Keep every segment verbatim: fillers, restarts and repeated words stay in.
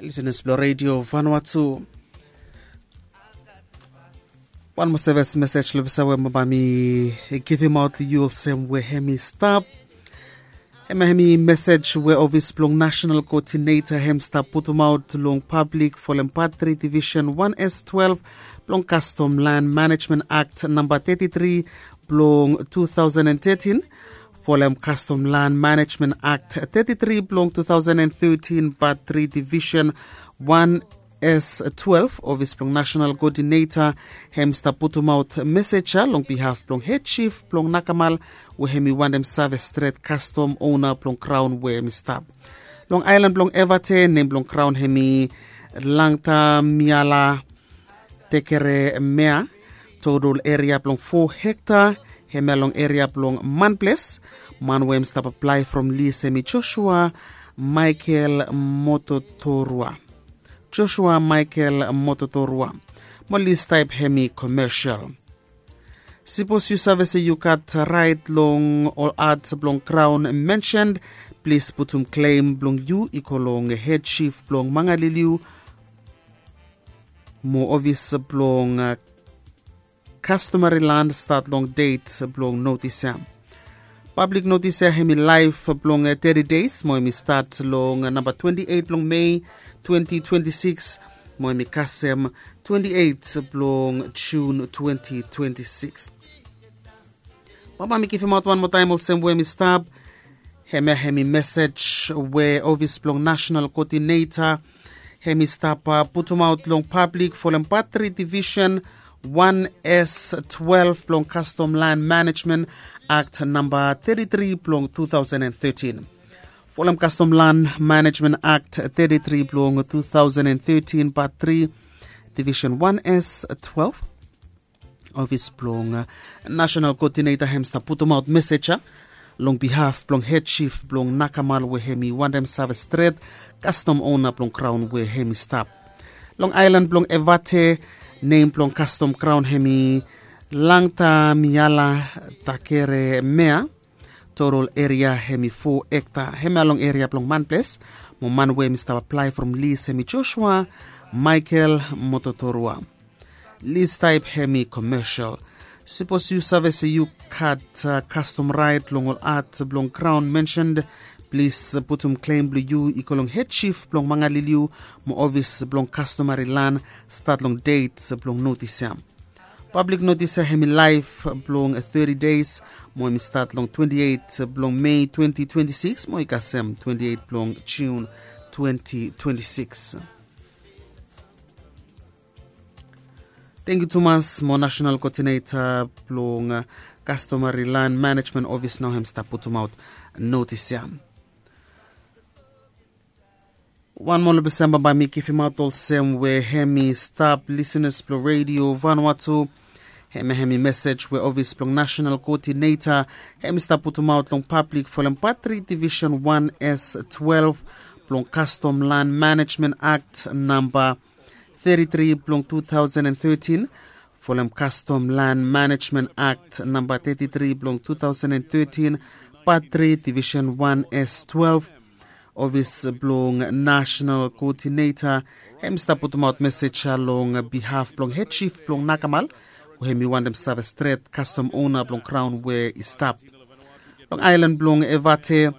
Lisenas blong redio Vanuatu. Wan moa sevis mesej long pesa we baba mi givimaot long yu olsem we hem i stap. Hem hem i mesej we ofis blong nasional koodineta hem stap putumaot long pablik folem pat tri divisen wan s twelve blong kastom lan manejmen akt namba teti tri blong tu taosen an tetin, folem kastom lan manejmen akt teti tri blong tu taosen an tetin, pat tri divisen wan s twelve, ofis blong nasional koodineta hem stap putumaot mesej ya long bihaf blong hed jif blong nakamal we hem i wantem save stret kastom ona blong kraon we hem i stap. Long aelan blong Evate, nem blong kraon hem i Langtamiala Tekeremea. Total eria blong fo hekta, hemia long eria blong Manples. Man we hem stap aplae from lis hem i Joshua Michael Mototorua. Joshua Michael Mototorua. Mo lis taep hem i commercial. Sipos yu save se yu gat raet long ol at blong kraon mensened, plis putum klem blong yu i go long hed jif blong Mangaliliu mo ofis blong kastomari lan stat long det blong notis ya. Pablik notis ya hem i laef blong teti des mo hem i stat long namba twenti eit blong Mei twenti twenti sikis mo hem i kasem twenti eit blong Jun twenti twenti sikis. Baba mi givimaot wan moa taem olsem we hem i stap. Hemia hem i mesej we ofis blong nasional koodineta hem i stap putumaot long pablik folem pat tri divisen wan s twelve blong kastom lan manejmen akt namba teti tri blong tu taosen an tetin. Folem kastom lan manejmen akt teti tri blong tu taosen an tetin, pat tri, divisen wan s twelve, ofis blong nasional koodineta hem stap putumaot mesej ya long bihaf blong hed jif blong nakamal we hem i wantem save stret kastom ona blong kraon we hem i stap. Long aelan blong Evate, nem blong kastom kraon hem i Langtamiala Takeremea. Total eria hem i fo hekta, hemia long eria blong Manples. Mo man we hem i stap aplae from lis hem i Joshua Michael Mototorua. Lis taep hem i commercial. Sipos yu save se yu gat kastom raet long ol at blong kraon mensened, plis putum klem blong yu i go long hed jif blong Mangaliliu mo ofis blong kastomari lan stat long det blong notis ya. Pablik notis ya hem i laef blong teti des mo hem i stat long twenti eit blong Mei twenti twenti sikis mo i kasem twenti eit blong Jun twenti twenti sikis. Tangkiu tumas mo nasional koodineta blong kastomari lan manejmen ofis nao hem stap putumaot notis ya. Wan moa long pesa baba mi givimaot olsem we hem i stap, lisenas blong redio Vanuatu. Hemia hem i mesej we ofis blong nasional koodineta hem i stap putumaot long pablik folem pat tri divisen wan s twelve blong kastom lan manejmen akt namba teti tri blong tu taosen an tetin, folem kastom lan manejmen akt namba teti tri blong tu taosen an tetin, pat tri divisen wan s twelve. Ofis blong nasional koodineta hem i stap putumaot mesej ya long bihaf blong hed jif blong nakamal we hem i wantem save stret kastom ona blong kraon we i stap. Long aelan blong Evate,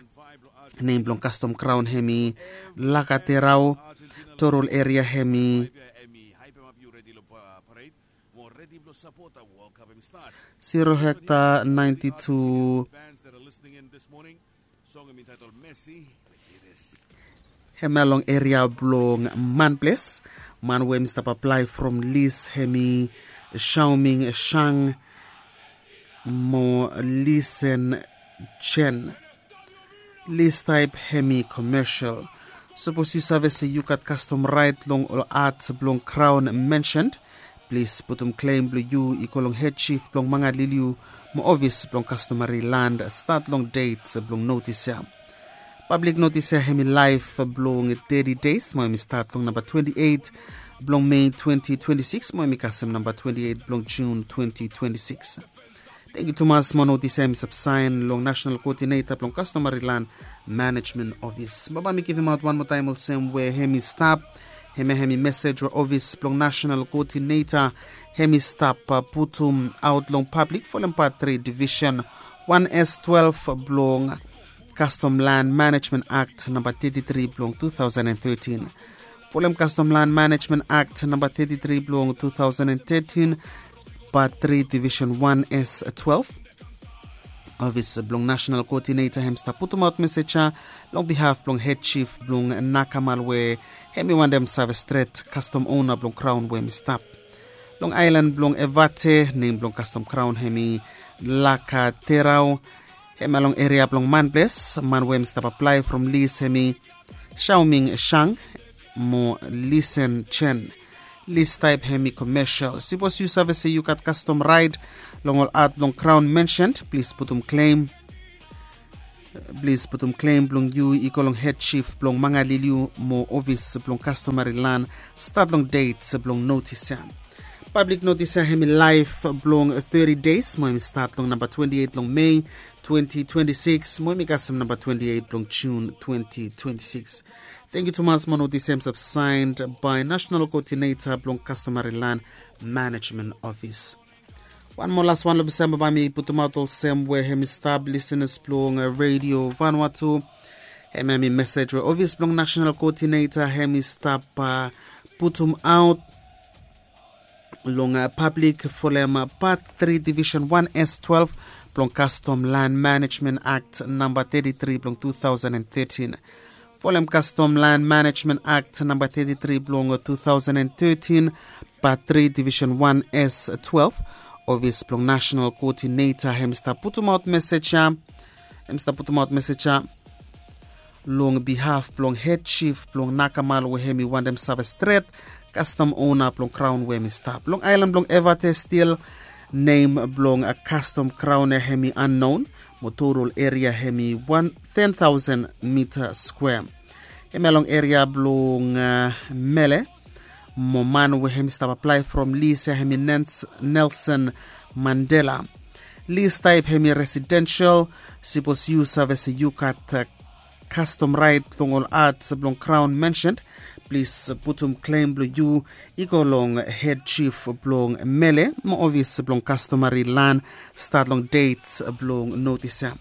nem blong kastom kraon hem i Lakaterau. Total eria hem i zero hekta, ninety-two. Hemia long eria blong Manples. Man we hem i stap aplae from lis hem i Shaoming Shang mo Lisen Chen. Lis taep hem i commercial. Sipos yu save se yu gat kastom raet long ol at blong kraon mensened, plis putum klem blong yu i go long hed jif blong Mangaliliu mo ofis blong kastomari lan stat long det blong notis ya. Pablik notis ya hem i laef blong teti des mo hem i stat long namba twenti eit blong Mei twenti twenti sikis mo hem i kasem namba twenti eit blong Jun twenti twenti sikis. Tengiu tumas mo notis ya hem i stap saen long national koodineta blong kastomari lan manejmen ofis. Baba mi givimaot wan moa taem olsem we hem i stap, hem ya hem i mesej we ofis blong national koodineta hem i stap putum aot long pablik folem pat tri divisen wan s twelve blong kastom lan manejmen akt namba teti tri blong tu taosen en tetin. Folem kastom lan manejmen akt namba teti tri blong tu taosen en tetin, pat tri divisen wan s twelve, ofis blong nasenal koodineta hem stap putumaot mesej ya long bihaf blong hed jif blong nakamal we hem i wantem save stret kastom ona blong kraon we hem i stap long aelan blong evate. Nem blong kastom kraon hem i laka terao. Hem ya long eria blong manples man we hem i stap aplae from lis hem i shaoming shang mo lisen chen. Lis taep hem i komesel. Sipos yu save se yu gat kastom raed long ol at blong kraon mensen, plis putum klem plis putum klem blong yu i go long hed jif blong mangaliliu mo ofis blong kastomari lan stat long det blong notis ya. Pablik notis ya hem i laef blong teti des mo hem i stat long namba twenti eit blong mei twenti twenti sikis mo hem i kasem namba twenti eit blong jun twenti twenti sikis. Tengiu tumas mo notis ya hem stap saen bae nasenal koodineta blong kastomari lan manejmen ofis. Wan moa las wan long bisamba bae mi putumaot olsem we hem i stap lisenas blong redio vanua tu. Hem ya hem i mesej we ofis blong nasenal koodineta hem i stap putumaot long pablik folem pat tri divisen wan s twelve blong kastom lan manejmen akt namba teti tri blong tu taosen en tetin. Folem kastom lan manejmen akt namba teti tri blong tu taosen en tetin, pat tri divisen wan s twelve, ofis blong nasenal koodineta hem i stap putumaot mesej ya hem i stap putumaot mesej ya long bihaf blong hed jif blong nakamal we hem i wantem save stret kastom ona blong kraon we hem i stap long aelan blong evate stil. Nem blong kastom kraon ya hem i annon mo totol eria hem i wan ten taosen mita skwea. Hem ya long eria blong mele mo man we hem i stap aplae from lis ya hem i nens nelson mandela. Lis taep hem i residensel. Sipos yu save se yu gat kastom raet long ol at blong kraon mensen, plis putum klem blong yu i go long hed jif blong mele mo ofis blong kastomari lan stat long det blong notis ya.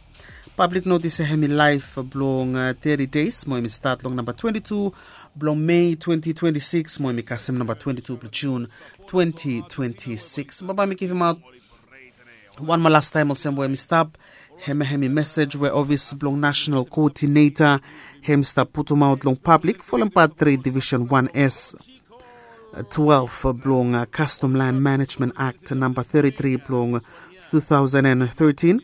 Pablik notis ya hem i laef blong teti des mo hem i stat long namba twenti tu blong mei twenti twenti sikis mo hem i kasem namba twenti tu blong jun twenti twenti sikis. Baba mi givimaot wan moa lastaem olsem we hem i stap. Hem ya hem i mesej we ofis blong nasenal koodineta hem i stap putumaot long pablik folem pat tri divisen wan s twelve blong kastom lan manejmen akt namba teti tri blong tu taosen en tetin.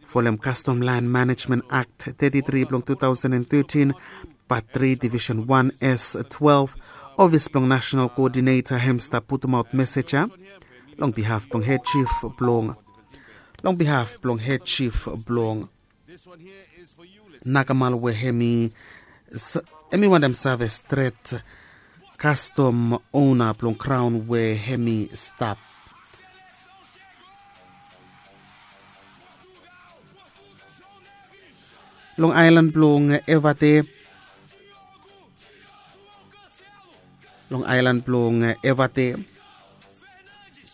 Folem kastom lan manejmen akt teti tri blong tu taosen en tetin, pat tri divisen wan s twelve, ofis blong nasenal koodineta hem i stap putumaot mesej ya long bihaf blong hed jif blong long bihaf blong hed jif blong nakamal we hem i wantem save stret kastom ona blong kraon we hem i stap long aelan blong evate long aelan blong evate.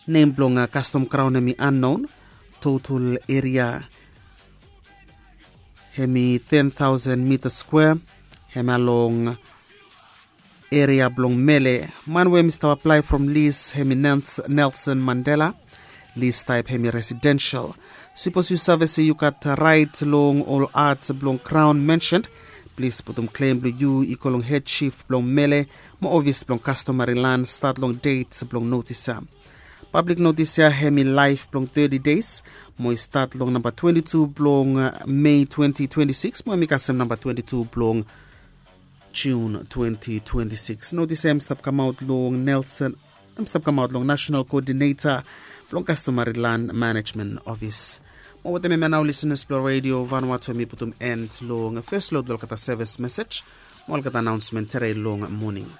Nem blong kastom kraon hem i annon. Totol eria hem i ten taosen mita skwea. Hem ya long eria blong mele. Man we hem i stap aplae from lis hem i nelson mandela. Lis taep hem i residensel. Sipos yu save se yu gat raet long ol at blong kraon mensen, plis putum klem blong yu i go long hed jif blong mele mo ofis blong kastomari lan stat long det blong notis ya. Pablik notis ya hem i laef blong teti des mo i stat long namba twenti tu blong mei twenti twenti sikis mo hem i kasem namba twenti tu blong jun twenti twenti sikis. Notis ya hem i stap kamaot long nelson hem i stap kamaot long nasenal koodineta blong kastomari lan manejmen ofis. Mo wetem hem ya nao lisenas blong redio vanua tu hem i putum en long fes lod olgeta sevis mesej mo olgeta anaonsmen tede long moning.